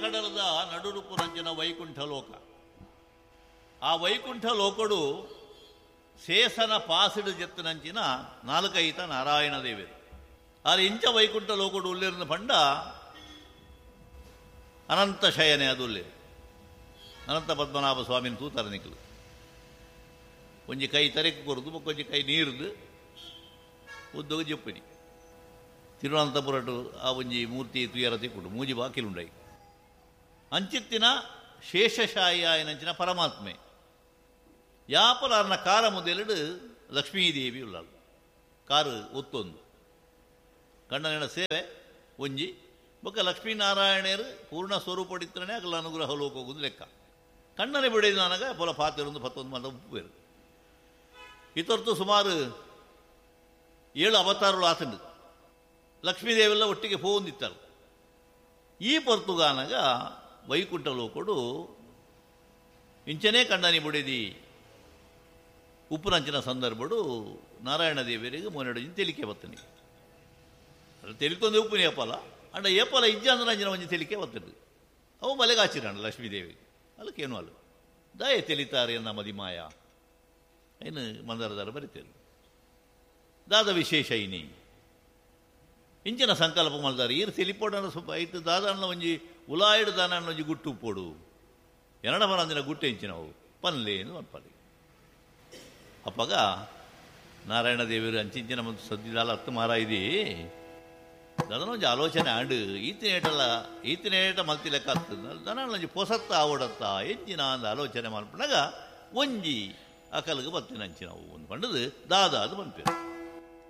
ಕಡಲದ ನಡುರುಪು ರಂಜನ ವೈಕುಂಠ ಲೋಕ. ಆ ವೈಕುಂಠ ಲೋಕಡು ಶೇಷನ ಪಾಸಿಡು ಜೆತ್ತನಂಚಿನ ನಾಲ್ಕೈತ ನಾರಾಯಣ ದೇವರು. ಆದ್ರೆ ಇಂಚ ವೈಕುಂಠ ಲೋಕಡು ಉಲ್ಲಿರನ ಪಂಡ ಅನಂತ ಶಯನೆ ಅದು ಉಲ್ಲೇರು. ಅನಂತ ಪದ್ಮನಾಭ ಸ್ವಾಮಿನ ತೂತಾರೆ ನಿಕ್ಕಲು. ಒಂಜಿ ಕೈ ತರೆಕ್ ಕೊರದು, ಒಂಜಿ ಕೈ ನೀರ್ದು ಉದ್ದಗ ಜಪ್ಪನಿ. ತಿರುವನಂತಪುರಟು ಆ ಒಂಜಿ ಮೂರ್ತಿ ತುಯರ ತಿಕ್ಕುಡು ಮೂಜಿ ಬಾಕಿಲುಂಡೈ. ಅಂಚಿತ್ತಿನ ಶೇಷಶಾಯಿ ಆಯನಂಚಿನ ಪರಮಾತ್ಮೆ ಯಾಪಲಾರ್ನ ಕಾರ ಮುದೆಲುಡು ಲಕ್ಷ್ಮೀದೇವಿ ಉಳ್ಳಾಳು. ಕಾರು ಒತ್ತೊಂದು ಕಣ್ಣನ ಸೇವೆ ಒಂಜಿ ಬೊಕ್ಕ ಲಕ್ಷ್ಮೀನಾರಾಯಣರು ಪೂರ್ಣ ಸ್ವರೂಪಡಿತ್ತನೇ ಅಗಲ ಅನುಗ್ರಹ ಲೋಕೋಗುದು ಲೆಕ್ಕ. ಕಣ್ಣನೆ ಬಿಡಿದ ನನಗ ಪೊಲ ಪಾತಿರೊಂದು ಪತ್ತೊಂದು ಮಾತ ಉಪ್ಪುವೇರು. ಇತರ್ತು ಸುಮಾರು 7 ಅವತಾರಗಳು ಆತಂಡು. ಲಕ್ಷ್ಮೀದೇವೆಲ್ಲ ಒಟ್ಟಿಗೆ ಪೋಂದಿತ್ತಾರೆ. ಈ ಪೊರ್ತುಗಾನಗ ವೈಕುಂಠ ಲೋಕಡು ಇಂಚನೇ ಕಣ್ಣನಿ ಬುಡಿದಿ ಉಪ್ಪುನಂಚಿನ ಸಂದರ್ಭಡು ನಾರಾಯಣ ದೇವರಿಗೆ ಮೊನ್ನೆಡು ತೆಲಿಕೆ ಬತ್ತನಿ. ಅದು ತೆಲಿತೊಂದು ಉಪ್ಪುನಿ ಏಪಲ ಅಂಡ ಏಪಲ ಇಜ್ಜಂದ್ರಂಜಿನ ಒಂಜಿ ತೆಲಿಕೆ ಬತ್ತದು. ಅವು ಮಲೆಗಾಚಿರಣ್ಣ ಲಕ್ಷ್ಮೀದೇವಿ ಅಲ್ಲಕ್ಕೇನು ಅಲ್ಲ ದಾಯ ತೆಲಿತಾರೆ ಎನ್ನ ಮದಿಮಾಯ ಏನು ಮಂದರದಾರ ಬರಿತೇರು. ದಾದ ವಿಶೇಷ ಇನಿ ಇಂಚಿನ ಸಂಕಲ್ಪ ಮಲ್ದಾರೆ ಈರು ತೆಲಿಪೋಡನ ಸ್ವಲ್ಪ ಐತು ದಾದಣ್ಣ ಒಂಜಿ ಉಲಾಯಿಡು ದಾನಣ್ಣ ಒಂಜಿ ಗುಟ್ಟು ಉಪ್ಪೋಡು ಎರಡ ಮರಂದಿನ ಗುಟ್ಟೆ ಇಂಚಿನವು ಪನ್ಲೇನು ಅನ್ಪಲಿ. ಅಪ್ಪಗ ನಾರಾಯಣ ದೇವರು ಅಂಚಿಂಚಿನ ಮತ್ತು ಸದ್ದಿದಾಲ ಹತ್ತು ಮಾರ ಇದೀ ದನ ಒಂಜಿ ಆಲೋಚನೆ ಆಂಡು ಈತಿನೇಟಲ್ಲ ಈತಿನೇಟ ಮಲ್ತಿ ಲೆಕ್ಕ ಆಗ್ತದೆ ದನ ಒಂಜಿ ಪೊಸತ್ತ ಆವಡತ್ತ ಎಂಚಿನ ಅಂದ ಆಲೋಚನೆ ಮಲ್ಪನಾಗ ಒಂಜಿ ಅಕಲ್ಗೆ ಬತ್ತಿನ ಅಂಚಿನವು ಒಂದು ಪಂಡದು ದಾದ ಅದು ಪನ್ಪೇರು.